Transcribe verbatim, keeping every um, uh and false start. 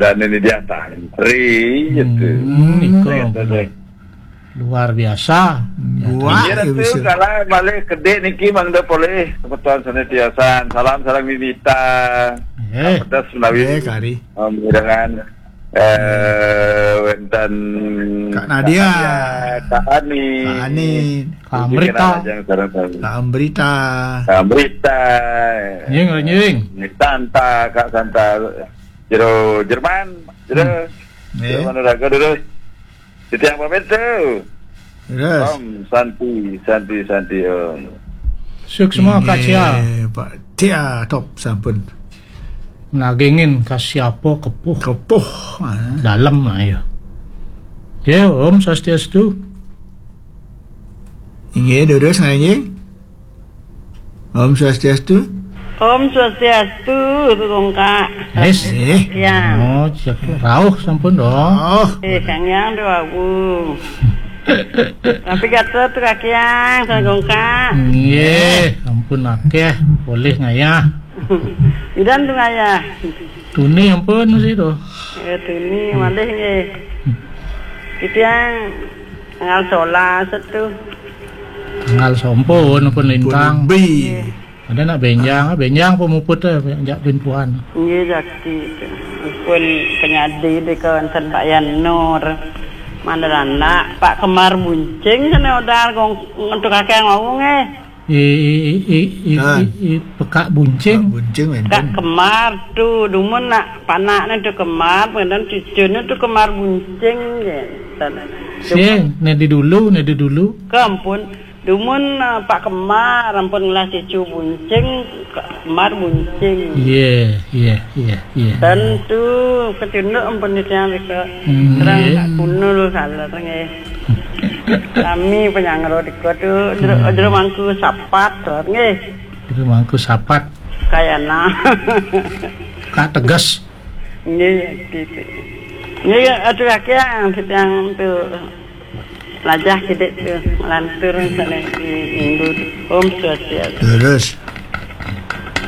Dan ini dia tantri gitu. Hmm, iko. Luar biasa. Gua. Iya, ya, Ratu, bisa. Kalau malih kedek niki mangda polih kebetulan sane tiosan. Salam sareng Winita. Eh. Pedas menawi. Eh, kari. Om, dengan, eh, wenten Kak Nadia. Kak Nadia, Kak Ani. Kak Ani. Kak Amrita. Kak Amrita. Kak Amrita. Nying, nying. Santa, Kak Santa. Jero Jerman, jero. Hmm. Jero Manuraga, jero. Titiang pamit tuh. Terus. Om Santi, Santi, Santi, Om. Suksma. Inggih, Kasia. Pak Tia, top sampun. Nagingin Kasia apa kepuh? Kepuh, ah. Dalam, ayo. Ya, Om Swastiastu. Inggih, terus nggih. Om Swastiastu. Om Swastiastu, Kongka. Yes. Eh. Ya. Oh, siap. Rauh sampun, dong. Oh. Eh, Kang Yang doawu. Tapi kata tu kakiang, Kongka. Nggih, ampun akeh, boleh ngayah. Idan tu ngayah. Tuni ampun sih tuh. Ya, tuni malih nggih. Kita yang tanggal solas tu. Tanggal sampun pun lintang. Pun bi. Ada nak benjang, ah, benjang pemuput eh, jak pinpuan. Nggih, jakti tu. Pun penyadi di kawasan Pak Yan Nur. Mandar anak, Pak Kemar Buncing sana odar gong untuk kakek ngomong eh. I, i, i, i, i, Kan. I, i, pekak buncing. Pekak buncing, Kak enten. Kemar tu, dumun nak panaknya tu Kemar, kemudian cucunya tu Kemar Buncing, ya. Sing, ne di dulu, ne di dulu. Ke ampun, dumun, eh, Pak Kemar, ampun ngelah cucu Buncing, Kak Kemar Buncing. Iya, iya, iya, iya. Tentu ketunduk ampun itu yang rika. Hmm, terang iya. Kak Kunul salah, nggih. Kami penyangro di kota tu, jero, hmm, jero mangku sapat tu, nggih. Jero mangku sapat. Kayana. Kak tegas. Nggih, gitu. Nggih, aturake yang sedang tu lajah kidik tu, lantur sana di minggu tu. Om Swastiastu. Terus.